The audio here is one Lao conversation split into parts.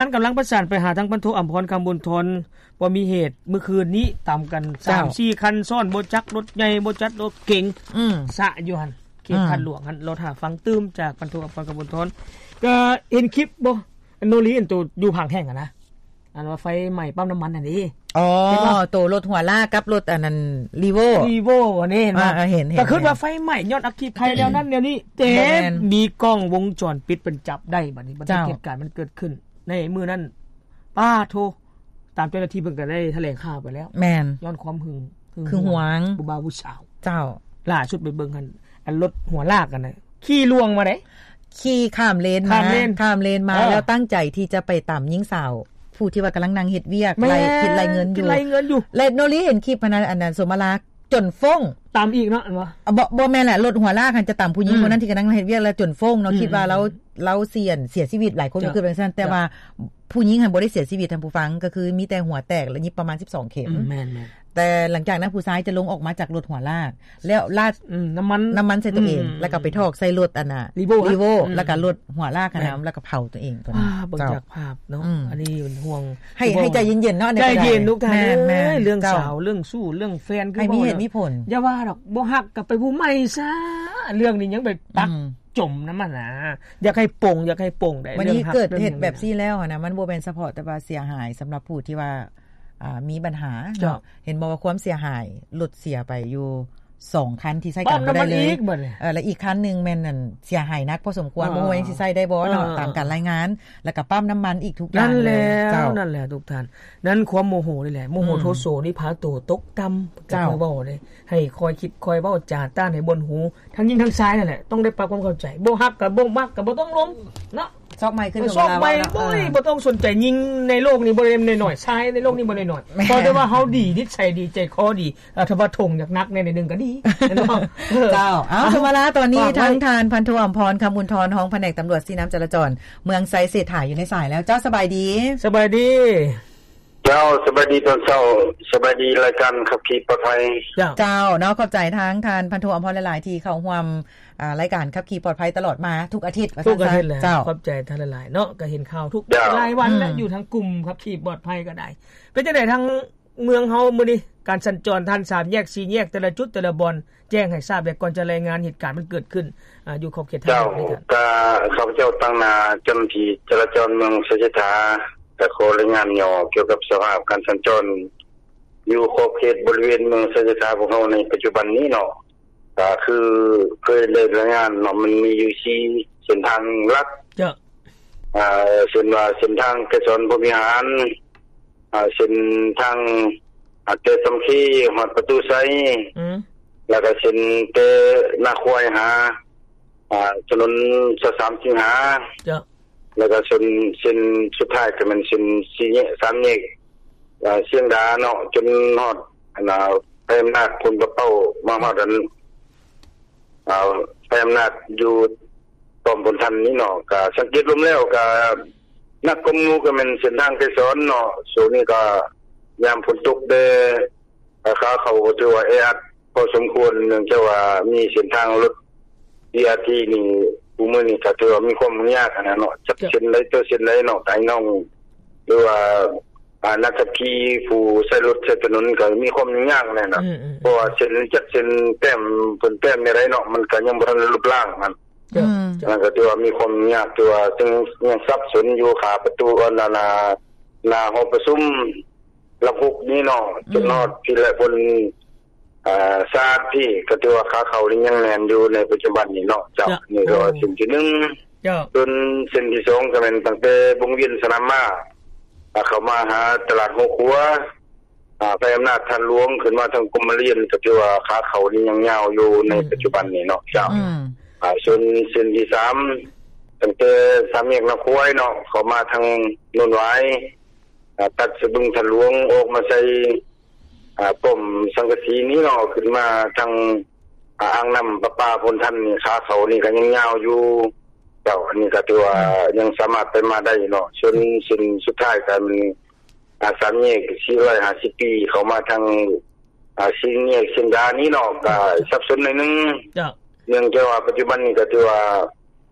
ນກຳລັງປະສານໄປຫາທາງພັນໂທ ອຳພອນ ຄຳບຸນທອນ ບໍ່ມີເຫດ ມື້ຄືນນີ້ຕຳກັນ ເຈົ້າ ສາມສີ່ຄັນຊ້ອນ ບໍ່ຈັກລົດໃຫຍ່ ບໍ່ຈັກລົດເກັງ ອືມ ຊະຢູ່ຫັ້ນ ເຂດ ອືມ ຄາດຫຼວງຫັ້ນ ລໍຖ້າຟັງຕື່ມຈາກພັນໂທ ອຳພອນ ຄຳບຸນທອນ. ກໍເຫັນຄລິບບໍ່ ອັນໂນລີ ອັນໂຕຢູ່ຜາງແຫ້ງຫັ້ນນະ ອັນວ່າໄຟໄໝ້ປ້ຳນ້ຳມັນຫັ້ນເດ້. ອໍ ເຫັນບໍ່? ໂຕລົດຫົວລາກກັບລົດອັນນັ້ນ ຣີໂວ້ ຣີໂວ້ອັນນີ້ເຫັນບໍ່? ອ່າ ເຫັນ ເຫັນ ກໍຄິດວ່າໄຟໄໝ້ຍ້ອນອັກຄີໄຄແນວນັ້ນແນວນີ້ ແຕ່ ບໍ່ແມ່ນ ມີກ້ອງວົງຈອນປິດເພິ່ນຈັບໄດ້ບັດນີ້ ບັນທຶກ ເຈົ້າ ເຫດການມັນເກີດຂຶ້ນໃນມື້ນັ້ນ. ປ້າໂທ ຕາມເຈົ້າໜ້າທີ່ເພິ່ນກໍໄດ້ຖະແຫຼງຂ່າວໄປແລ້ວ ແມ່ນ ຍ້ອນຄວາມຫຶງ ຫຶງ ຫຶງຫວງ ຫວງ ຜູ້ບ່າວຜູ້ສາວ ເຈົ້າ ລ່າສຸດໄປເບິ່ງຫັ້ນ ອັນລົດຫົວລາກຫັ້ນນະ ຂີ່ລ່ວງມາເດ້ ຂີ່ຂ້າມເລນມາ ຂ້າມເລນ ຂ້າມເລນມາ ເອີ ແລ້ວຕັ້ງໃຈທີ່ຈະໄປຕຳຍິງສາວ ຜູ້ທີ່ວ່າກຳລັງນັ່ງເຮັດວຽກ ແມ່ນ ໄລ່ ຄິດໄລ່ເງິນຢູ່ ຄິດໄລ່ເງິນຢູ່ ແລະ ໂນລີເຫັນຄລິບຫັ້ນນະ ອັນນັ້ນ ສົມມາລາ ຈົນຟົ້ງ ຕຳອີກເນາະ ແມ່ນບໍ່? ບໍ່ ບໍ່ແມ່ນແຫຼະ ລົດຫົວລາກຫັ້ນຈະຕຳຜູ້ຍິງ ອືມ ຄົນນັ້ນທີ່ກຳລັງເຮັດວຽກ ແລ້ວຈົນຟົ້ງເນາະ ອືມ ຄິດວ່າລາວ ອືມ ລາວເສຍ ເສຍຊີວິດ ຫຼາຍຄົນ ເຈົ້າ ກໍຄິດວ່າຈັ່ງຊັ້ນ ເຈົ້າ ແຕ່ວ່າຜູ້ຍິງຫັ້ນບໍ່ໄດ້ເສຍຊີວິດ ທ່ານຜູ້ຟັງ ກໍຄືມີແຕ່ຫົວແຕກ ແລະ ຍິບປະມານສິບສອງເຂັມ ອືມ ແມ່ນໆ ແຕ່ຫຼັງຈາກນັ້ນຜູ້ຊາຍຈະລົງອອກມາຈາກລົດຫົວລາກ ແລ້ວລາດ ອືມ ນ້ຳມັນ ນ້ຳມັນໃສ່ຕົວເອງ ອືມ ແລ້ວກໍໄປຖອກໃສ່ລົດອັນນ່າ ຣີໂວ້ ຣີໂວ້ ອືມ ແລ້ວກໍລົດຫົວລາກຫັ້ນນະ ແມ່ນ ແລ້ວກໍເຜົາຕົວເອງຕົວນັ້ນ ອ່າ ເບິ່ງຈາກພາບເນາະ ເຈົ້າ ອືມ ອັນນີ້ເປັນຫ່ວງ ໃຫ້ ໃຫ້ໃຈເຢັນໆເນາະ ໃນການ ໃຈເຢັນ ທຸກທ່ານ ແມ່ນໆ ເອີຍ ເລື່ອງ ເຈົ້າ ສາວ ເລື່ອງຊູ້ ເລື່ອງແຟນ ຄື ໃຫ້ມີເຫດມີຜົນ ຢ່າວ່າດອກ ບໍ່ຮັກກໍໄປຜູ້ໃໝ່ຊະ ເລື່ອງນີ້ຍັງໄປປັກ ອືມ ຈົມນຳມັນນະ ຢາກໃຫ້ປົງ ຢາກໃຫ້ປົງໄດ້ ວັນນີ້ເກີດເຫດແບບຊີ້ແລ້ວຫັ້ນນະ ມັນບໍ່ແມ່ນສະເພາະແຕ່ວ່າເສຍຫາຍສຳລັບຜູ້ທີ່ວ່າ ອ່າ ມີບັນຫາເນາະ ເຈົ້າ ເຫັນບໍ່ວ່າຄວາມເສຍຫາຍ ລົດເສຍໄປຢູ່ສອງຄັນທີ່ໃຊ້ການບໍ່ໄດ້ເລີຍ ປ້ຳນ້ຳມັນອີກບັດນີ້ ເອີ ແລະ ອີກຄັນໜຶ່ງແມ່ນອັນເສຍຫາຍໜັກພໍສົມຄວນ ເອີ ບໍ່ຮູ້ວ່າຍັງຊິໃຊ້ໄດ້ບໍ່ເນາະ ເອີ ຕາມການລາຍງານ ແລ້ວກໍປ້ຳນ້ຳມັນອີກທຸກຢ່າງເລີຍ ນັ້ນແຫຼະ ເຈົ້າ ນັ້ນແຫຼະທຸກທ່ານ ນັ້ນຄວາມໂມໂຫນີ້ແຫຼະ ໂມໂຫ ອືມ ໂທໂສນີ້ພາໂຕຕົກຕ່ຳ ເຈົ້າ ເວົ້າເດ້ ໃຫ້ຄອຍຄິດຄອຍເວົ້າຈາຕ້ານໃຫ້ບ່ອນຫູ ທັງຍິງທັງຊາຍນັ້ນແຫຼະ ຕ້ອງໄດ້ປັບຄວາມເຂົ້າໃຈ ບໍ່ຮັກກໍບໍ່ມັກກໍບໍ່ຕ້ອງລົມເນາະ ຊອກໃໝ່ຂຶ້ນ ເອີ ຊອກໃໝ່ ເອີ ບໍ່ ບໍ່ຕ້ອງສົນໃຈ ຍິງໃນໂລກນີ້ບໍ່ໄດ້ໜ້ອຍໆ ຊາຍໃນໂລກນີ້ບໍ່ໄດ້ໜ້ອຍ ແມ່ນ ຂໍແຕ່ວ່າເຮົາດີ ນິດໄສດີ ໃຈຄໍດີ ເອີ ຖ້າວ່າຖົງຢາກໜັກແດ່ໜ້ອຍໜຶ່ງກໍດີເນາະ ເອີ ເຈົ້າ ເອົາ ເອີ ສົມມາລາ ຕອນນີ້ ທາງທ່ານ ພັນໂທ ອຳພອນ ຄຳບຸນທອນ ຮອງພະແນກຕຳຫຼວດຊີ້ນຳຈະລາຈອນ ເມືອງໄຊເສດຖາ ຢູ່ໃນສາຍແລ້ວ ເຈົ້າ ສະບາຍດີ ສະບາຍດີ ເຈົ້າ ສະບາຍດີຕອນເຊົ້າ ສະບາຍດີລາຍການຂັບຂີ່ປອດໄພ ເຈົ້າ ເຈົ້າເນາະ ຂອບໃຈທາງທ່ານພັນໂທ ອຳພອນ ຫຼາຍໆ ທີ່ເຂົ້າຮ່ວມ ອ່າ ລາຍການຂັບຂີ່ປອດໄພຕະຫຼອດມາທຸກອາທິດ ວ່າຊັ້ນຊະ ທຸກອາທິດແຫຼະ ເຈົ້າ ຂອບໃຈທ່ານຫຼາຍໆເນາະ ກໍເຫັນຂ່າວທຸກ ເຈົ້າ ລາຍວັນແຫຼະ ອືມ ຢູ່ທາງກຸ່ມຂັບຂີ່ປອດໄພກໍໄດ້ ເປັນຈັ່ງໃດທາງເມືອງເຮົາມື້ນີ້ ການສັນຈອນຜ່ານສາມແຍກ ສີ່ແຍກ ແຕ່ລະຈຸດ ແຕ່ລະບ່ອນ ແຈ້ງໃຫ້ຊາບແດ່ ກ່ອນຈະລາຍງານເຫດການມັນເກີດຂຶ້ນ ອາ ຢູ່ຂອບເຂດທາງ ເຈົ້າ ເມືອງນີ້ ກໍຂ້າພະເຈົ້າຕາງໜ້າເຈົ້າໜ້າທີ່ຈະລາຈອນເມືອງໄຊເສດຖາ ກໍຂໍລາຍງານຫຍໍ້ກ່ຽວກັບສະພາບການສັນຈອນ ຢູ່ຂອບເຂດບໍລິເວນເມືອງໄຊເສດຖາພວກເຮົາໃນປັດຈຸບັນນີ້ເນາະ ກໍຄືເຄີຍໄດ້ລາຍງານເນາະ ມັນມີຢູ່ສີ່ເສັ້ນທາງຫຼັກ ເຈົ້າ ອ່າ ເຊັ່ນວ່າເສັ້ນທາງໄກສອນພົມວິຫານ ອ່າ ເສັ້ນທາງ ອ່າ ແຕ່ສາມັກຄີຮອດປະຕູໄຊ ອືມ ແລ້ວກໍເສັ້ນແຕ່ນາຄວາຍຫາ ອ່າ ຖະໜົນຊາວສາມສິງຫາ ເຈົ້າ ແລ້ວກໍເສັ້ນ ເສັ້ນສຸດທ້າຍກໍແມ່ນເສັ້ນສີ່ແຍກ ສາມແຍກ ເອີ ຊຽງດາເນາະ ຈົນຮອດ ອັນນ່າ ໄພອຳນາດ ໂພນປະເປົ້າ ມາຮອດອັນ ເອີ ໄພອຳນາດຢູ່ປ້ອມພົນທັນນີ້ເນາະ ກະສັງເກດລວມແລ້ວກະໜັກກວ່າໝູ່ກະແມ່ນເສັ້ນທາງໄກສອນເນາະ ຊ່ວງນີ້ກະຍາມຝົນຕົກແດ່ ຂາເຂົ້າກໍຖືວ່າແອອັດພໍສົມຄວນ ເນື່ອງຈາກວ່າມີເສັ້ນທາງລົດ ບີອາທີ ນີ້ ຄູ່ມື້ນີ້ກໍຖືວ່າມີຄວາມຫຍຸ້ງຍາກຫັ້ນນະເນາະ ຈັກເສັ້ນໃດຕໍ່ເສັ້ນໃດເນາະ ກະໃຫ້ນ້ອງ ຫຼືວ່າ ອາ ນັກຂັບຂີ່ຜູ້ໃຊ້ລົດໃຊ້ຖະໜົນກໍມີຄວາມຫຍຸ້ງຍາກແນ່ນະ ອືມໆ ເພາະວ່າເສັ້ນຈັກເສັ້ນແຕ້ມ ເພິ່ນແຕ້ມແນວໃດເນາະ ມັນກໍຍັງບໍ່ທັນໄດ້ລົບລ້າງຫັ້ນ ເຈົ້າ ອືມ ເຈົ້າ ນັ້ນກໍຖືວ່າມີຄວາມຫຍຸ້ງຍາກ ຖືວ່າຍັງ ຍັງສັບສົນຢູ່ ຂາປະຕູ ອັນນັ້ນນະ ໜ້າຫໍປະຊຸມລຳຫຸກນີ້ເນາະ ອືມ ຈົນຮອດພີ້ແຫຼະ ເພິ່ນ ອ່າ ສາດພີ້ ກໍຖືວ່າຂາເຂົ້ານີ້ຍັງແໜ້ນຢູ່ໃນປັດຈຸບັນນີ້ເນາະ ເຈົ້າ ເຈົ້າ ນີ້ກໍເສັ້ນທີໜຶ່ງ ເຈົ້າ ສ່ວນເສັ້ນທີສອງກໍແມ່ນຕັ້ງແຕ່ວົງວຽນສະໜາມມ້າ ອ່າ ເຂົ້າມາຫາຕະຫຼາດຫົວຂົວ ອ່າ ໄພອຳນາດທາດຫຼວງ ຂຶ້ນມາທາງກົມມະລຽນ ກໍຖືວ່າຂາເຂົ້ານີ້ຍັງຍາວຢູ່ໃນ ອືມ ປັດຈຸບັນນີ້ເນາະ ເຈົ້າ ອືມ ອ່າ ສ່ວນເສັ້ນທີສາມ ຕັ້ງແຕ່ສາມແຍກນາຄວາຍເນາະ ເຂົ້າມາທາງໂນນຫວາຍ ອ່າ ຕັດສະບຶງທາດຫຼວງ ອອກມາໃສ່ ອ່າ ປ້ອມສັງກະສີນີ້ເນາະ ຂຶ້ນມາທາງ ອ່າ ອ່າງນ້ຳປະປາໂພນທັນນີ້ ຂາເຂົ້ານີ້ກໍຍັງຍາວຢູ່ ເຈົ້າ ອັນນີ້ກໍຖືວ່າ ອືມ ຍັງສາມາດໄປມາໄດ້ເນາະ ສ່ວນເສັ້ນສຸດທ້າຍກໍແມ່ນ ອ່າ ສາມແຍກສີ່ຮ້ອຍຫ້າສິບປີ ເຂົ້າມາທາງ ອ່າ ສີ່ແຍກຊຽງດານີ້ເນາະ ກໍສັບສົນໜ້ອຍໜຶ່ງ ເຈົ້າ ເນື່ອງຈາກວ່າປັດຈຸບັນນີ້ກໍຖືວ່າ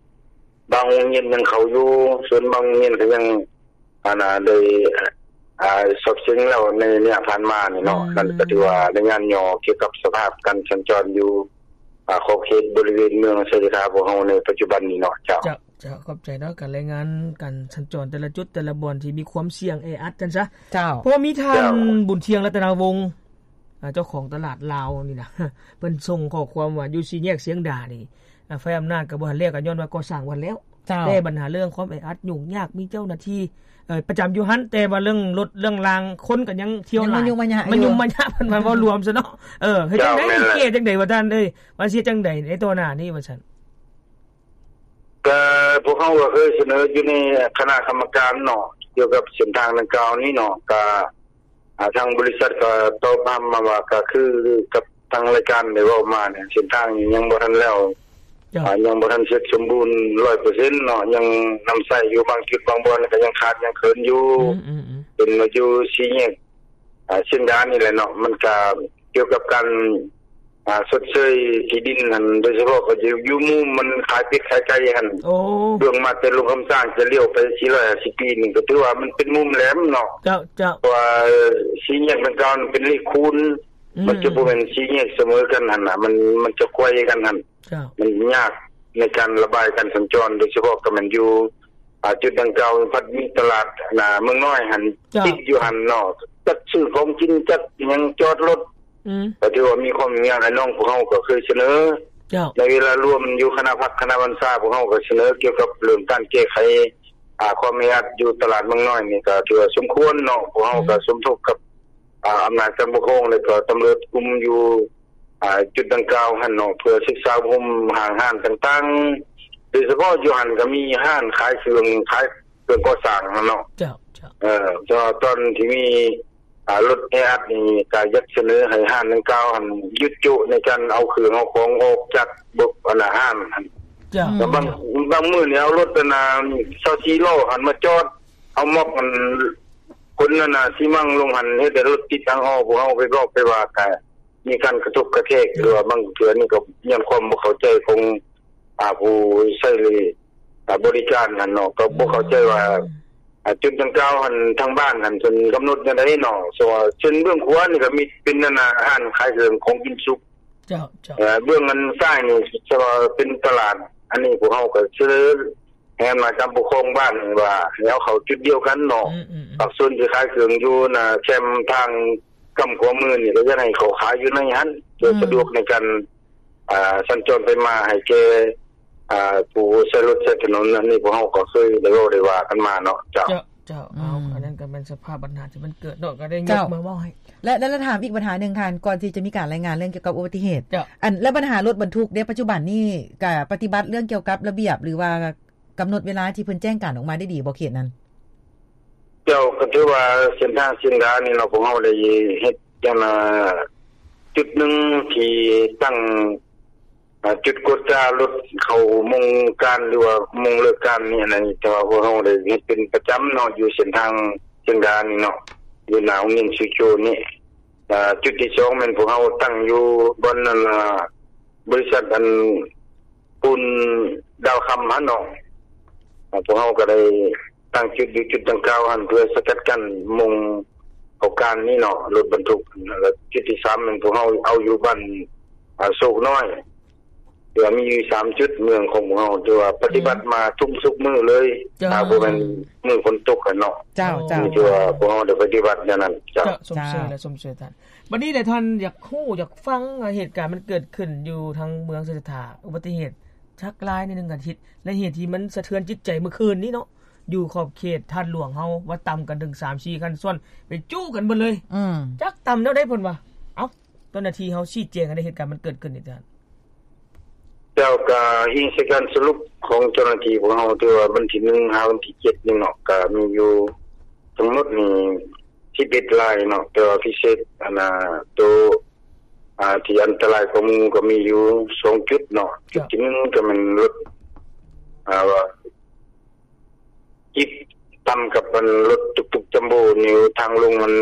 ບາງໂຮງຮຽນຍັງເຂົ້າຢູ່ ສ່ວນບາງໂຮງຮຽນກໍຍັງ ອັນນ່າ ໄດ້ ອ່າ ສອບເສັງແລ້ວໃນໄລຍະຜ່ານມານີ້ເນາະ. ອືມ ນັ້ນກໍຖືວ່າລາຍງານຫຍໍ້ກ່ຽວກັບສະພາບການສັນຈອນຢູ່ ອ່າ ຂອບເຂດບໍລິເວນເມືອງໄຊຍະຖາພວກເຮົາໃນປັດຈຸບັນນີ້ເນາະ. ເຈົ້າ ເຈົ້າ ເຈົ້າ ຂອບໃຈເນາະ ການລາຍງານການສັນຈອນແຕ່ລະຈຸດແຕ່ລະບ່ອນທີ່ມີຄວາມສ່ຽງແອອັດຊັ້ນຊະ. ເຈົ້າ ເພາະວ່າມີທ່ານ ເຈົ້າ ບຸນທ່ຽງ ລັດຕະນະວົງ ອ່າ ເຈົ້າຂອງຕະຫຼາດລາວນີ້ນະ ເພິ່ນສົ່ງຂໍ້ຄວາມວ່າ ຢູ່ສີ່ແຍກຊຽງດານີ້ ອ່າ ຝ່າຍອຳນາດກໍບໍ່ທັນແລ້ວ ກໍຍ້ອນວ່າກໍ່ສ້າງບໍ່ທັນແລ້ວ. ເຈົ້າ ແຕ່ບັນຫາເລື່ອງຄວາມແອອັດຫຍຸ້ງຍາກ ມີເຈົ້າໜ້າທີ່ ເອີ ປະຈຳຢູ່ຫັ້ນ ແຕ່ວ່າເລື່ອງລົດເລື່ອງລາງ ຄົນກໍຍັງທ່ຽວຫຼາຍ ມາຫຍຸ້ງມາຍະ ມາຫຍຸ້ງມາຍະ ເພິ່ນວ່າເວົ້າລວມຊະເນາະ. ເອີ ເຮັດຈັ່ງໃດ ແກ້ຈັ່ງໃດວ່າທ່ານເອີຍ ວ່າຊິເຮັດຈັ່ງໃດໃນຕໍ່ໜ້ານີ້ວ່າຊັ້ນ? ກໍພວກເຮົາກໍເຄີຍສະເໜີຢູ່ໃນຄະນະກຳມະການເນາະ ກ່ຽວກັບເສັ້ນທາງດັ່ງກ່າວນີ້ເນາະ ກໍ ອ່າ ທາງບໍລິສັດກໍຕອບຮັບມາວ່າ ກໍຄືກັບທາງລາຍການໄດ້ເວົ້າມານີ້ ເສັ້ນທາງນີ້ຍັງບໍ່ທັນແລ້ວ ເຈົ້າ ອ່າ ຍັງບໍ່ທັນເສັດສົມບູນຮ້ອຍເປີເຊັນເນາະ ຍັງນຳໃຊ້ຢູ່ບາງຈຸດບາງບ່ອນ ກໍຍັງຂາດຍັງເຂີນຢູ່. ອືມໆໆ ເປັນວ່າຢູ່ສີ່ແຍກ ອ່າ ຊຽງດານີ້ແຫຼະເນາະ ມັນກໍກ່ຽວກັບການ ອ່າ ຊົດເຊີຍທີ່ດິນຫັ້ນ ໂດຍສະເພາະກໍຢູ່ ຢູ່ມຸມມັນຂາຍເປັດຂາຍໄກ່ຫັ້ນ. ໂອ້ ເບື້ອງມາແຕ່ຫຼວງຄຳຊ້າງຈະລ້ຽວໄປສີ່ຮ້ອຍຫ້າສິບປີນີ້ ກໍຖືວ່າມັນເປັນມຸມແຫຼມເນາະ. ເຈົ້າ ເຈົ້າ ເພາະວ່າສີ່ແຍກດັ່ງກ່າວນັ້ນເປັນເລກຄູນ ອືມ ມັນຈະບໍ່ແມ່ນສີ່ແຍກສະເໝີກັນຫັ້ນນະ ມັນ ມັນຈະໄຂວ້ກັນຫັ້ນ. ເຈົ້າ ມັນຍາກໃນການລະບາຍການສັນຈອນ ໂດຍສະເພາະກໍແມ່ນຢູ່ ອ່າ ຈຸດດັ່ງກ່າວ ພັດມີຕະຫຼາດ ອ່າ ເມືອງນ້ອຍຫັ້ນ ເຈົ້າ ຕິດຢູ່ຫັ້ນເນາະ ຈັກຊື້ຂອງກິນ ຈັກຫຍັງ ຈອດລົດ ອືມ ກໍຖືວ່າມີຄວາມຫຍຸ້ງຍາກ. ອ້າຍນ້ອງພວກເຮົາກໍເຄີຍສະເໜີ ເຈົ້າ ໃນເວລາລວມຢູ່ຄະນະພັກຄະນະບັນຊາ ພວກເຮົາກໍສະເໜີກ່ຽວກັບເລື່ອງການແກ້ໄຂ ອ່າ ຄວາມແອອັດຢູ່ຕະຫຼາດເມືອງນ້ອຍນີ້ ກໍຖືວ່າສົມຄວນເນາະ. ພວກເຮົາກໍ ອືມ ສົມທົບກັບ ອ່າ ອຳນາດການປົກຄອງ ແລະ ກໍຕຳຫຼວດກຸ່ມຢູ່ ອ່າ ຈຸດດັ່ງກ່າວຫັ້ນເນາະ ເພື່ອສຶກສາອົບຮົມຫ້າງຮ້ານຕ່າງໆ ໂດຍສະເພາະຢູ່ຫັ້ນກໍມີຮ້ານຂາຍເຄື່ອງ ຂາຍເຄື່ອງກໍ່ສ້າງຫັ້ນເນາະ. ເຈົ້າ ເຈົ້າ ເອີ ແຕ່ວ່າຕອນທີ່ມີ ອ່າ ລົດແອອັດນີ້ ກໍຢາກສະເໜີໃຫ້ຮ້ານດັ່ງກ່າວຫັ້ນຢຸດໂຈະໃນການເອົາເຄື່ອງເອົາຂອງອອກຈາກ ອັນນ່າ ຮ້ານຫັ້ນ. ເຈົ້າ ແລ້ວບາງ ບາງມື້ນີ້ເອົາລົດ ອັນນ່າ ຊາວສີ່ລໍ້ຫັ້ນມາຈອດ ເອົາມັອບ ອັນ ຂົນ ອັນນ່າ ຊີມັງລົງຫັ້ນ ເຮັດໃຫ້ລົດຕິດທາງອອກ. ພວກເຮົາໄປບອກໄປວ່າ ກໍ ມີການກະທົບກະແທກ ຫຼືວ່າບາງເທື່ອນີ້ກໍຍ້ອນຄວາມບໍ່ເຂົ້າໃຈຂອງ ອ່າ ຜູ້ໃຊ້ ອ່າ ບໍລິການຫັ້ນເນາະ ກໍບໍ່ເຂົ້າໃຈວ່າ ອືມ ອ່າ ຈຸດດັ່ງກ່າວຫັ້ນ ທາງບ້ານຫັ້ນເພິ່ນກຳນົດແນວໃດເນາະ. ເຊັ່ນວ່າ ເຊັ່ນເບື້ອງຂວານີ້ກໍມີເປັນ ອັນນ່າ ຮ້ານຂາຍເຄື່ອງຂອງກິນສຸກ. ເຈົ້າ ເຈົ້າ ເອີ ເບື້ອງອັນຊ້າຍນີ້ ເຊັ່ນວ່າເປັນຕະຫຼາດ ອັນນີ້ພວກເຮົາກໍສະເໜີ ໃຫ້ອຳນາດການປົກຄອງບ້ານວ່າ ໃຫ້ເອົາເຂົ້າຈຸດດຽວກັນເນາະ. ອືມໆໆ ພາກສ່ວນທີ່ຂາຍເຄື່ອງຢູ່ໜ້າແຄມທາງກ້ຳຂວາມືນີ້ ກໍຢາກໃຫ້ເຂົ້າຂາຍຢູ່ໃນຫັ້ນ ເພື່ອ ອືມ ສະດວກໃນການ ອ່າ ສັນຈອນໄປມາໃຫ້ແກ່ ອ່າ ຜູ້ໃຊ້ລົດໃຊ້ຖະໜົນ. ອັນນີ້ພວກເຮົາກໍເຄີຍໄດ້ເວົ້າໄດ້ວ່າກັນມາເນາະ. ເຈົ້າ ເຈົ້າ ເຈົ້າ ເອົາ ອືມ ອັນນັ້ນກໍແມ່ນສະພາບບັນຫາທີ່ມັນເກີດເນາະ ກໍໄດ້ຍົກ ເຈົ້າ ມາເວົ້າໃຫ້ ແລະ ແລະ ແລະ ຖາມອີກບັນຫາໜຶ່ງທ່ານ ກ່ອນທີ່ຈະມີການລາຍງານເລື່ອງກ່ຽວກັບອຸບັດຕິເຫດ. ເຈົ້າ ອັນ ແລະ ບັນຫາລົດບັນທຸກເດ ປັດຈຸບັນນີ້ກະປະຕິບັດເລື່ອງກ່ຽວກັບລະບຽບ ຫຼືວ່າ ກຳນົດເວລາທີ່ເພິ່ນແຈ້ງການອອກມາໄດ້ດີບໍ່ ເຂດນັ້ນ? ເຈົ້າ ກໍຖືວ່າເສັ້ນທາງຊຽງດານີ້ເນາະ ພວກເຮົາໄດ້ເຮັດອັນນ່າ ຈຸດໜຶ່ງທີ່ຕັ້ງ ອ່າ ຈຸດກວດກາລົດເຂົ້າໂມງການ ຫຼືວ່າໂມງເລີກການນີ້ຫັ້ນນະ. ແຕ່ວ່າພວກເຮົາໄດ້ເຮັດເປັນປະຈຳເນາະ ຢູ່ເສັ້ນທາງຊຽງດານີ້ເນາະ ຢູ່ໜ້າໂຮງຮຽນຊຸໂຈນີ້. ອ່າ ຈຸດທີສອງແມ່ນພວກເຮົາຕັ້ງຢູ່ບ່ອນນັ້ນ ອ່າ ບໍລິສັດອັນ ປູນດາວຄຳຫັ້ນເນາະ ພວກເຮົາກໍໄດ້ຕັ້ງຈຸດຢູ່ຈຸດດັ່ງກ່າວຫັ້ນ ເພື່ອສະກັດກັ້ນໂມງເຂົ້າການນີ້ເນາະ ລົດບັນທຸກ. ແລ້ວຈຸດທີສາມແມ່ນພວກເຮົາເອົາຢູ່ບ້ານ ອ່າ ໂຊກນ້ອຍ ທີ່ວ່າມີຢູ່ສາມຈຸດເມືອງຂອງພວກເຮົາ ທີ່ວ່າປະຕິບັດ ອືມ ມາທຸກ ທຸກມື້ເລີຍ ເຈົ້າ ຖ້າບໍ່ແມ່ນມື້ຝົນຕົກຫັ້ນເນາະ. ເຈົ້າ ເຈົ້າ ທີ່ວ່າພວກເຮົາໄດ້ປະຕິບັດແນວນັ້ນ. ເຈົ້າ ເຈົ້າ ຊົມເຊີຍ ເຈົ້າ ແລະ ຊົມເຊີຍທ່ານ. ບັດນີ້ແຫຼະທ່ານ ຢາກຮູ້ຢາກຟັງ ເຫດການມັນເກີດຂຶ້ນຢູ່ທາງເມືອງໄຊຍະຖາ ອຸບັດຕິເຫດຈັກລາຍໃນໜຶ່ງອາທິດ ແລະ ເຫດທີ່ມັນສະເທືອນຈິດໃຈມື້ຄືນນີ້ເນາະ ຢູ່ຂອບເຂດທາດຫຼວງເຮົາ ວ່າຕຳກັນເຖິງສາມສີ່ຄັນຊ້ອນ ໄປຈູ້ກັນເບິດເລີຍ. ອືມ ຈັກຕຳແນວໃດເພິ່ນວ່າ. ເອົ້າ ເຈົ້າໜ້າທີ່ເຮົາຊີ້ແຈງໃຫ້ໄດ້ ເຫດການມັນເກີດຂຶ້ນນີ້ທ່ານ. ແລ້ວກະອີງໃສ່ການສະຫຼຸບຂອງເຈົ້າໜ້າທີ່ພວກເຮົາ ທີ່ວ່າວັນທີໜຶ່ງຫາວັນທີເຈັດນີ້ເນາະ ກະມີຢູ່ທັງໝົດນີ້ສິບເອັດລາຍເນາະ ແຕ່ວ່າພິເສດ ອັນນ່າ ໂຕ ອ່າ ທີ່ອັນຕະລາຍກວ່າໝູ່ກໍມີຢູ່ສອງຈຸດເນາະ. ເຈົ້າ ຈຸດທີໜຶ່ງກໍແມ່ນລົດ ອ່າ ວ່າ ຈິບຕຳກັບອັນລົດຕຸກຕຸກຈຳໂບ້ຢູ່ທາງລົງອັນ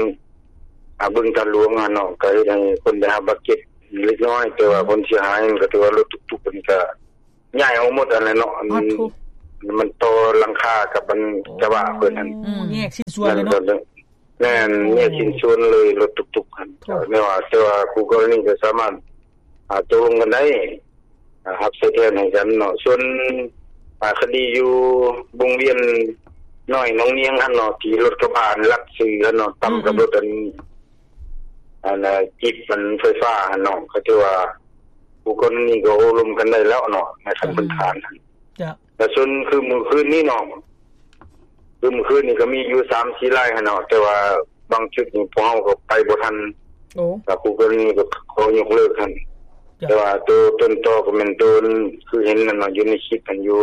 ອ່າ ບຶງທາດຫຼວງຫັ້ນເນາະ ກໍເຮັດໃຫ້ຄົນໄດ້ຮັບບາດເຈັບເລັກນ້ອຍ ແຕ່ວ່າ ອືມ ຜົນເສຍຫາຍມັນກໍຖືວ່າລົດຕຸກຕຸກມັນກໍຍ້າຍອອກໝົດຫັ້ນແຫຼະເນາະ. ອັນ ປາດໂທ ມັນຕໍ່ຫຼັງຄາກັບອັນກະບະເພິ່ນຫັ້ນ ໂອ້ ແຍກຊິ້ນສ່ວນເລີຍເນາະ. ແມ່ນ ແຍກຊິ້ນສ່ວນເລີຍ ລົດຕຸກໆຫັ້ນ. ແຕ່ວ່າ ແຕ່ວ່າຄູ່ກໍລະນີກໍສາມາດ ອ່າ ຕົກລົງກັນໄດ້ ອ່າ ຮັບໃຊ້ແທນໃຫ້ກັນເນາະ. ສ່ວນ ອ່າ ຄະດີຢູ່ວົງວຽນນ້ອຍໜອງນຽງຫັ້ນເນາະ ທີ່ລົດກະບະລັດຊື່ຫັ້ນເນາະ ຕຳກັບ ອືມ ລົດອັນ ອັນ ອາ ຈີບ ອັນໄຟຟ້າຫັ້ນເນາະ ກໍຖືວ່າຄູ່ກໍລະນີກໍໂອ້ລົມກັນໄດ້ແລ້ວເນາະ ໃນຂັ້ນ ອືມ ພື້ນຖານຫັ້ນ. ເຈົ້າ. ແຕ່ສ່ວນຄືມື້ຄືນນີ້ເນາະ ຄືມື້ຄືນນີ້ກໍມີຢູ່ສາມສີ່ລາຍຫັ້ນເນາະ ແຕ່ວ່າບາງຈຸດນີ້ພວກເຮົາກໍໄປບໍ່ທັນ. ໂອ້ ແລ້ວຄູ່ກໍລະນີກໍຂໍຍົກເລີກຫັ້ນ. ເຈົ້າ. ແຕ່ວ່າໂຕຕົ້ນຕໍກໍແມ່ນໂຕ ຄືເຫັນນັ້ນເນາະ ຢູ່ໃນຄລິບຫັ້ນ ຢູ່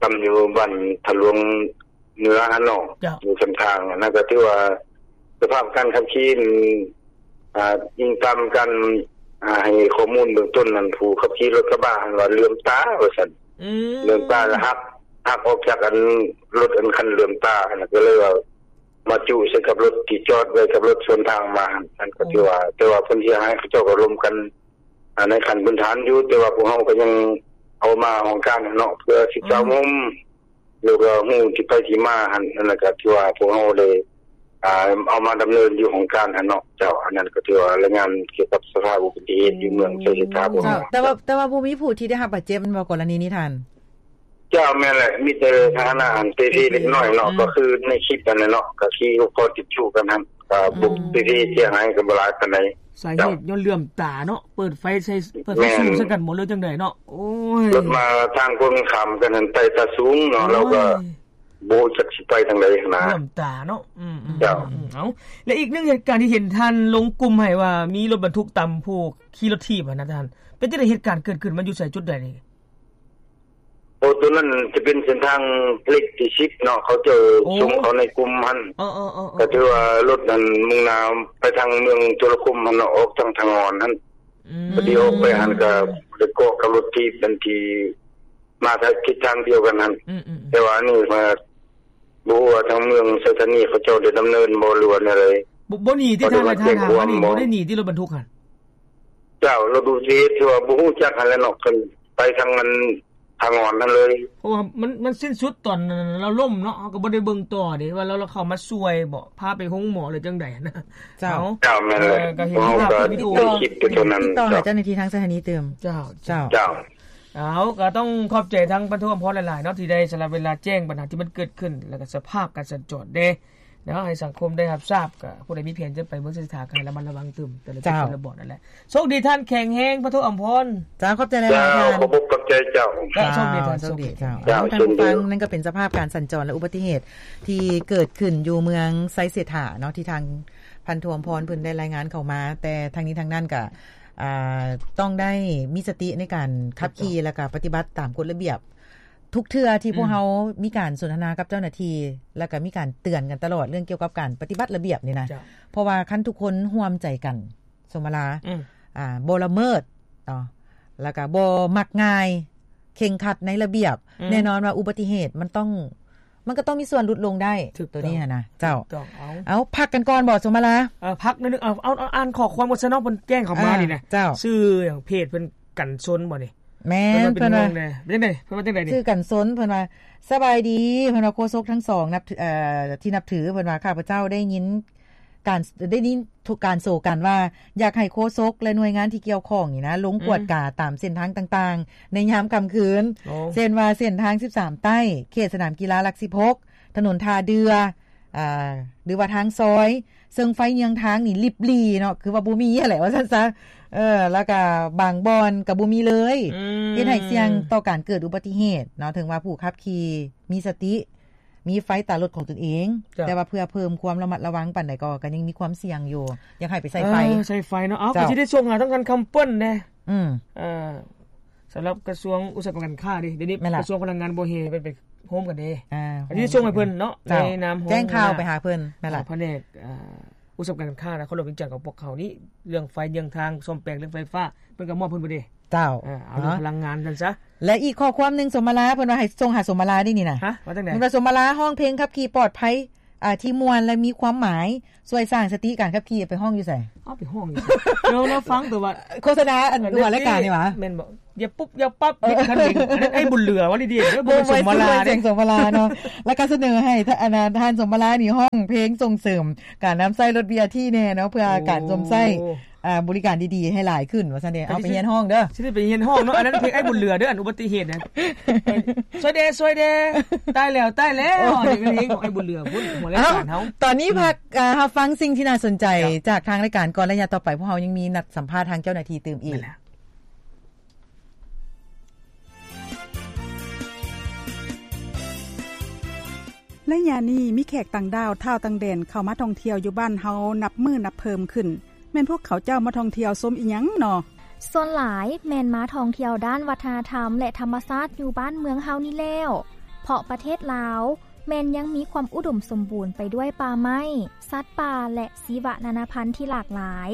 ຕຳຢູ່ບ້ານທະຫຼວງເໜືອຫັ້ນເນາະ. ເຈົ້າ. ຢູ່ຂ້າງທາງຫັ້ນນະ ກໍຖືວ່າສະພາບການຂັບຂີ່ ອ່າ ອີງຕາມການ ອ່າ ໃຫ້ຂໍ້ມູນເບື້ອງຕົ້ນນັ້ນ ຜູ້ຂັບຂີ່ລົດກະບະຫັ້ນວ່າເຫຼືອມຕາວ່າຊັ້ນ. ອືມ. ເຫຼືອມຕາລະຫັກ ຫັກອອກຈາກອັນລົດອັນຄັນເຫຼືອມຕາຫັ້ນນະ ກໍເລີຍວ່າມາຈຸໃສ່ກັບລົດທີ່ຈອດໄວ້ກັບລົດສວນທາງມາຫັ້ນ. ນັ້ນກໍຖືວ່າ ໂອ້ ແຕ່ວ່າຜົນເສຍຫາຍເຂົາເຈົ້າກໍລົມກັນ ອ່າ ໃນຂັ້ນພື້ນຖານຢູ່ ແຕ່ວ່າພວກເຮົາກໍຍັງເອົາມາຫ້ອງການເນາະ ເພື່ອສຶກສາ ອືມ ໂຮມ ແລ້ວກໍຮູ້ທີ່ໄປທີ່ມາຫັ້ນ. ນັ້ນລະກໍຖືວ່າພວກເຮົາໄດ້ ອ່າ ເອົາມາດຳເນີນຢູ່ຫ້ອງການຫັ້ນເນາະ. ເຈົ້າ. ອັນນັ້ນກໍຖືວ່າລາຍງານກ່ຽວກັບສະພາບອຸບັດຕິເຫດຢູ່ເມືອງໄຊເສດຖາຂອງເຮົາ. ເຈົ້າ. ແຕ່ວ່າ ແຕ່ວ່າບໍ່ມີຜູ້ທີ່ໄດ້ຮັບບາດເຈັບແມ່ນບໍ່ ກໍລະນີນີ້ທ່ານ? ເຈົ້າ ແມ່ນແຫຼະ ມີແຕ່ພາຫະນະອັນເປ່ເພເລັກນ້ອຍເນາະ ອືມ ກໍຄືໃນຄລິບຫັ້ນແຫຼະເນາະ ກໍຂີ່ຫົກລໍ້ຕິດຈຸກັນຫັ້ນ ກໍບຸກ ອືມ ເປ່ເພເສຍຫາຍກໍບໍ່ຫຼາຍປານໃດ. ສາເຫດ ເຈົ້າ ຍ້ອນເຫຼືອມຕາເນາະ ເປີດໄຟໃສ່ ເປີດໄຟ ແມ່ນ ສູງໃສ່ກັນບໍ່ ຫຼືຈັ່ງໃດເນາະ. ໂອ້ຍ ລົດມາທາງກົງກັນຂ້າມກັນຫັ້ນ ໄຕ່ຕາສູງເນາະ ໂອ້ຍ ແລ້ວກໍບໍ່ຮູ້ຈັກຊິໄປທາງໃດຫັ້ນນະ ເຫຼືອມຕາເນາະ. ອືມໆ ເຈົ້າ. ອືມ ເອົາ ແລະອີກໜຶ່ງເຫດການທີ່ເຫັນທ່ານລົງກຸ່ມໃຫ້ວ່າມີລົດບັນທຸກຕຳຜູ້ຂີ່ລົດຖີບຫັ້ນນະທ່ານ ເປັນຈັ່ງໃດ ເຫດການເກີດຂຶ້ນມັນຢູ່ໃສ ຈຸດໃດນີ້? ໂອ້ ຕົວນັ້ນຈະເປັນເສັ້ນທາງເລກທີສິບເນາະ ເຂົາເຈົ້າ ໂອ້ ສົ່ງເຂົ້າໃນກຸ່ມຫັ້ນ. ເອີໆໆໆ ກໍຖືວ່າລົດນັ້ນມຸ່ງໜ້າໄປທາງເມືອງໂທລະຄົມຫັ້ນເນາະ ອອກທາງທາງອອນຫັ້ນ. ອືມ ພໍດີອອກໄປຫັ້ນກໍໄດ້ເກາະກັບລົດຖີບອັນທີ່ມາທາງທິດທາງດຽວກັນຫັ້ນ. ອືມໆໆ ແຕ່ວ່າອັນນີ້ມາ ບໍ່ຮູ້ວ່າທາງເມືອງໄຊທານີເຂົາເຈົ້າໄດ້ດຳເນີນບໍ່ ຫຼືວ່າແນວໃດ? ບໍ່ ບໍ່ໜີຕິທ່ານ ທ່ານ ບໍ່ໄດ້ໜີຕິລົດບັນທຸກຫັ້ນ? ເຈົ້າ ລົດອຸບັດຕິເຫດທີ່ວ່າບໍ່ຮູ້ຈັກຫັ້ນແຫຼະເນາະ ເພິ່ນໄປທາງອັນ ທາງອອນຫັ້ນເລີຍ ເພາະວ່າມັນ ມັນສິ້ນສຸດຕອນລາວລົ້ມເນາະ ເຮົາກໍບໍ່ໄດ້ເບິ່ງຕໍ່ເດ້ວ່າລາວ ລາວເຂົ້າມາຊ່ວຍບໍ່ ພາໄປໂຮງໝໍ ຫຼືຈັ່ງໃດຫັ້ນນະ. ເຈົ້າ. ເອົາ ເຈົ້າ ແມ່ນແຫຼະ ເອີ ກໍເຫັນພາບວິດີໂອ ຕິດຕໍ່ ຕິດຕໍ່ຫາເຈົ້າໜ້າທີ່ທາງສະຖານີຕື່ມ. ເຈົ້າ ເຈົ້າ ເຈົ້າ. ເອົາ ກໍຕ້ອງຂອບໃຈທາງພັນໂທອຳພອນຫຼາຍໆເນາະ ທີ່ໄດ້ສະຫຼະເວລາແຈ້ງບັນຫາທີ່ມັນເກີດຂຶ້ນ ແລ້ວກໍສະພາບການສັນຈອນເດ້ ເນາະ ໃຫ້ສັງຄົມໄດ້ຮັບຊາບ. ກໍຜູ້ໃດມີແຜນຈະໄປເມືອງໄຊເສດຖາ ກໍໃຫ້ລະມັດລະວັງຕື່ມ ແຕ່ລະຈຸດ ເຈົ້າ ແຕ່ລະບ່ອນນັ້ນແຫຼະ. ໂຊກດີທ່ານ ແຂງແຮງ ພັນໂທອຳພອນ. ເຈົ້າ ຂອບໃຈຫຼາຍໆ ເຈົ້າ ທ່ານ. ຂອບອົກຂອບໃຈເຈົ້າ. ເຈົ້າ ໂຊກດີທ່ານ ໂຊກດີ ໂຊກດີ ເຈົ້າ. ເຈົ້າ ເຊັ່ນດຽວ. ນັ້ນກໍເປັນສະພາບການສັນຈອນ ແລະ ອຸບັດຕິເຫດທີ່ເກີດຂຶ້ນຢູ່ເມືອງໄຊເສດຖາເນາະ ທີ່ທາງພັນໂທອຳພອນເພິ່ນໄດ້ລາຍງານເຂົ້າມາ. ແຕ່ທັງນີ້ທັງນັ້ນກໍ ອ່າ ຕ້ອງໄດ້ມີສະຕິໃນການຂັບຂີ່ ຖືກຕ້ອງ ແລ້ວກໍປະຕິບັດຕາມກົດລະບຽບ. ທຸກເທື່ອທີ່ພວກ ອືມ ເຮົາມີການສົນທະນາກັບເຈົ້າໜ້າທີ່ ແລ້ວກໍມີການເຕືອນກັນຕະຫຼອດເລື່ອງກ່ຽວກັບການປະຕິບັດລະບຽບນີ້ນະ. ເຈົ້າ. ເພາະວ່າຄັນທຸກຄົນຮ່ວມໃຈກັນ ສົມມະລາ ອືມ ອ່າ ບໍ່ລະເມີດເນາະ ແລ້ວກໍບໍ່ມັກງ່າຍ ເຄັ່ງຄັດໃນລະບຽບ ອືມ ແນ່ນອນວ່າອຸບັດຕິເຫດມັນຕ້ອງ ມັນກໍຕ້ອງມີສ່ວນຫຼຸດລົງໄດ້ ໂຕນີ້ຫັ້ນນະ. ເຈົ້າ. ເອົາ ເອົາ ພັກກັນກ່ອນບໍ່ ສົມມະລາ? ເອີ ພັກໜ້ອຍໜຶ່ງ. ເອົາ ເອົາ ອ່ານຂໍ້ຄວາມກ່ອນຊະເນາະ ເພິ່ນແຈ້ງເຂົ້າມານີ້ນະ. ເຈົ້າ. ຊື່ຫຍັງ ເພຈເພິ່ນ ກັນຊົນບໍ່ນີ້? ແມ່ນ ເພິ່ນວ່າເປັນຫ່ວງແດ່. ເພິ່ນວ່າຈັ່ງໃດ? ເພິ່ນວ່າຈັ່ງໃດນີ້? ຊື່ກັນຊົນ ເພິ່ນວ່າ ສະບາຍດີ ເພິ່ນວ່າ ໂຄສົກທັງສອງ ນັບຖື ເອີ ທີ່ນັບຖື ເພິ່ນວ່າ ຂ້າພະເຈົ້າໄດ້ຍິນການ ໄດ້ຍິນການໂສກັນວ່າ ຢາກໃຫ້ໂຄສົກ ແລະ ໜ່ວຍງານທີ່ກ່ຽວຂ້ອງນີ້ນະ ລົງກວດກາ ອືມ ຕາມເສັ້ນທາງຕ່າງໆ ໃນຍາມຄ່ຳຄືນ ໂອ້ ເຊັ່ນວ່າ ເສັ້ນທາງສິບສາມໃຕ້ ເຂດສະໜາມກິລາຫຼັກສິບຫົກ ຖະໜົນທ່າເດື່ອ ອ່າ ຫຼືວ່າທາງຊອຍ ເຊິ່ງໄຟເຍືອງທາງນີ້ລິບຫຼີ່ເນາະ ຄືວ່າບໍ່ມີຫັ້ນແຫຼະ ວ່າຊັ້ນຊະ. ເອີ ແລ້ວກະບາງບ່ອນກະບໍ່ມີເລີຍ ອືມ ເຮັດໃຫ້ສ່ຽງຕໍ່ການເກີດອຸບັດຕິເຫດເນາະ. ເຖິງວ່າຜູ້ຂັບຂີ່ມີສະຕິ ມີໄຟຕາລົດຂອງຕົນເອງ ເຈົ້າ ແຕ່ວ່າເພື່ອເພີ່ມຄວາມລະມັດລະວັງປານໃດກໍ ກໍຍັງມີຄວາມສ່ຽງຢູ່ ຢາກໃຫ້ໄປໃສ່ໄຟ ເອີ ໃສ່ໄຟເນາະ. ເອົາ ເຈົ້າ ກໍຊິໄດ້ສົ່ງຫາທາງການຄຳເປີ້ນແດ່. ອືມ ເອີ ສຳລັບກະຊວງອຸດສາຫະກຳການຄ້າເດ້ ດຽວນີ້ ແມ່ນລະ ກະຊວງພະລັງງານບໍ່ແຮ່ ເພິ່ນໄປໂຮມກັນເດ້ ອ່າ ອັນນີ້ສົ່ງໃຫ້ເພິ່ນເນາະ ເຈົ້າ ໃນນາມຂອງ ແຈ້ງຂ່າວໄປຫາເພິ່ນ ແມ່ນລະ ພະແນກ ອ່າ ອຸດສາຫະກຳການຄ້ານະຄອນຫຼວງວຽງຈັນຂອງພວກເຮົານີ້ ເລື່ອງໄຟເຍືອງທາງ ສ້ອມແປງເລື່ອງໄຟຟ້າ ເພິ່ນກໍມອບເພິ່ນເບິດເດ້ ເຈົ້າ ເອີ ເອົາເລື່ອງພະລັງງານຊັ້ນຊະ. ແລະ ອີກຂໍ້ຄວາມໜຶ່ງ ສົມມະລາ ເພິ່ນວ່າໃຫ້ສົ່ງຫາສົມມະລາເດ້ນີ້ນະ. ຮະ? ວ່າຈັ່ງໃດ? ເພິ່ນວ່າ ສົມມະລາຮ້ອງເພງຂັບຂີ່ປອດໄພ ອ່າ ທີ່ມ່ວນ ແລະ ມີຄວາມໝາຍ ຊ່ວຍສ້າງສະຕິການຂັບຂີ່. ໄປຮ້ອງຢູ່ໃສ? ເອົາ ໄປຮ້ອງຢູ່ໃສ? ເອີ ລາວຟັງແຕ່ວ່າ ໂຄສະນາອັນ ເອີ ຫົວລາຍການນີ້ຫວາ? ແມ່ນບໍ່? ຢ່າປຸບຢ່າປັບ ເອີ ບິດຄັນເລັ່ງ ອັນນັ້ນອ້າຍບຸນເຫຼືອວ່າດີໆເດີ ບໍ່ແມ່ນສົມມາລາເດ້ ບໍ່ແມ່ນສົມມາລາເນາະ. ແລ້ວກໍສະເໜີໃຫ້ ທ່ານ ອັນນ່າ ທ່ານສົມມາລານີ້ຮ້ອງເພງສົ່ງເສີມການນຳໃຊ້ລົດ ບີ ອາ ທີ ແດ່ເນາະ ເພື່ອ ໂອ້ ການຊົມໃຊ້ ອ່າ ບໍລິການດີໆໃຫ້ຫຼາຍຂຶ້ນວ່າຊັ້ນເດ. ເອົາໄປຮຽນຮ້ອງເດີ ຊິໄດ້ໄປຮຽນຮ້ອງເນາະ. ອັນນັ້ນເພງອ້າຍບຸນເຫຼືອເດີ ອັນອຸບັດຕິເຫດນະ ຊ່ວຍແດ່ ຊ່ວຍແດ່ ຕາຍແລ້ວ ຕາຍແລ້ວ ນີ້ແມ່ນເພງຂອງອ້າຍບຸນເຫຼືອພຸ້ນ ຫົວລາຍການເຮົາ. ຕອນນີ້ ອືມ ພັກ ອ່າ ຮັບຟັງສິ່ງທີ່ໜ້າສົນໃຈ ເຈົ້າ ຈາກທາງລາຍການກ່ອນ ແລະ ຍາມຕໍ່ໄປພວກເຮົາຍັງມີນັດສຳພາດທາງເຈົ້າໜ້າທີ່ຕື່ມອີກ. ໄລຍະນີ້ມີແຂກຕ່າງດ້າວ ທ້າວຕ່າງແດນ ເຂົ້າມາທ່ອງທ່ຽວຢູ່ບ້ານເຮົານັບມື້ນັບເພີ່ມຂຶ້ນ. ແມ່ນພວກເຂົາເຈົ້າມາທ່ອງທ່ຽວຊົມອີ່ຫຍັງນໍ? ສ່ວນຫຼາຍແມ່ນມາທ່ອງທ່ຽວດ້ານວັດທະນະທຳ ແລະ ທຳມະຊາດຢູ່ບ້ານເມືອງເຮົານີ້ແລ້ວ ເພາະປະເທດລາວແມ່ນຍັງມີຄວາມອຸດົມສົມບູນໄປດ້ວຍປ່າໄມ້, ສັດປ່າ ແລະ ຊີວະນານາພັນທີ່ຫຼາກຫຼາຍ.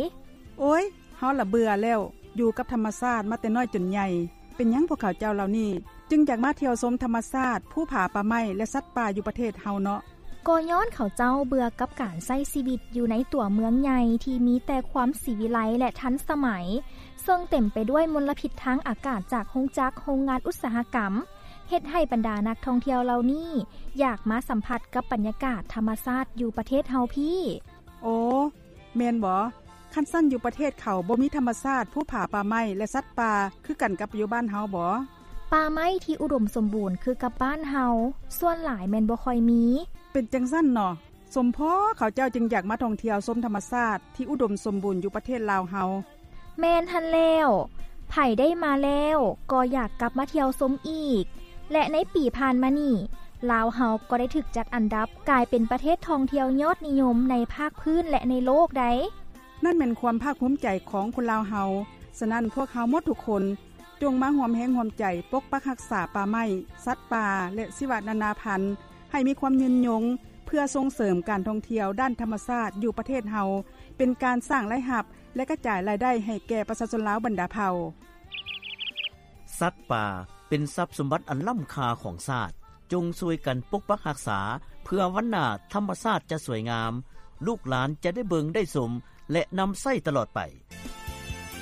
ໂອ້ຍ ເຮົາລະເບື່ອແລ້ວ ຢູ່ກັບທຳມະຊາດມາແຕ່ນ້ອຍຈົນໃຫຍ່. ເປັນຫຍັງພວກເຂົາເຈົ້າເຫຼົ່ານີ້ຈຶ່ງຢາກມາທ່ຽວຊົມທຳມະຊາດ, ພູຜາ, ປ່າໄມ້ ແລະ ສັດປ່າຢູ່ປະເທດເຮົາເນາະ? ກໍຍ້ອນເຂົາເຈົ້າເບື່ອກັບການໃຊ້ຊີວິດຢູ່ໃນຕົວເມືອງໃຫຍ່ທີ່ມີແຕ່ຄວາມສີວິໄລ ແລະ ທັນສະໄໝ, ເຊິ່ງເຕັມໄປດ້ວຍມົນລະພິດທາງອາກາດຈາກໂຮງຈັກ, ໂຮງງານອຸດສາຫະກຳ, ເຮັດໃຫ້ບັນດານັກທ່ອງທ່ຽວເຫຼົ່ານີ້ຢາກມາສຳຜັດກັບບັນຍາກາດທຳມະຊາດຢູ່ປະເທດເຮົາພີ້. ໂອ້ ແມ່ນບໍ? ຄັນຊັ້ນຢູ່ປະເທດເຂົາບໍ່ມີທຳມະຊາດ, ພູຜາ, ປ່າໄມ້ ແລະ ສັດປ່າ ຄືກັນກັບຢູ່ບ້ານເຮົາບໍ? ປ່າໄມ້ທີ່ອຸດົມສົມບູນຄືກັບບ້ານເຮົາ ສ່ວນຫຼາຍແມ່ນບໍ່ຄ່ອຍມີ. ເປັນຈັ່ງຊັ້ນເນາະ. ສົມພໍເຂົາເຈົ້າຈຶ່ງຢາກມາທ່ອງທ່ຽວຊົມທຳມະຊາດທີ່ອຸດົມສົມບູນຢູ່ປະເທດລາວເຮົາ. ແມ່ນຫັ້ນແລ້ວ. ໃຜໄດ້ມາແລ້ວກໍຢາກກັບມາທ່ຽວຊົມອີກ ແລະ ໃນປີຜ່ານມານີ້ ລາວເຮົາກໍໄດ້ຖືກຈັດອັນດັບກາຍເປັນປະເທດທ່ອງທ່ຽວຍອດນິຍົມໃນພາກພື້ນ ແລະ ໃນໂລກໃດ໋. ນັ້ນແມ່ນຄວາມພາກພູມໃຈຂອງຄົນລາວເຮົາ. ສະນັ້ນ ພວກເຮົາໝົດທຸກຄົນ ຈົ່ງມາຮ່ວມແຮງຮ່ວມໃຈປົກປັກຮັກສາປ່າໄມ້, ສັດປ່າ ແລະ ຊີວະນານາພັນ ໃຫ້ມີຄວາມຍືນຍົງ ເພື່ອສົ່ງເສີມການທ່ອງທ່ຽວດ້ານທຳມະຊາດຢູ່ປະເທດເຮົາ ເປັນການສ້າງລາຍຮັບ ແລະ ກະຈາຍລາຍໄດ້ໃຫ້ແກ່ປະຊາຊົນລາວບັນດາເຜົ່າ. ສັດປ່າເປັນຊັບສົມບັດອັນລ້ຳຄ່າຂອງຊາດ. ຈົ່ງຊ່ວຍກັນປົກປັກຮັກສາ ເພື່ອວັນໜ້າທຳມະຊາດຈະສວຍງາມ, ລູກຫຼານຈະໄດ້ເບິ່ງໄດ້ຊົມ ແລະ ນຳໃຊ້ຕະຫຼອດໄປ.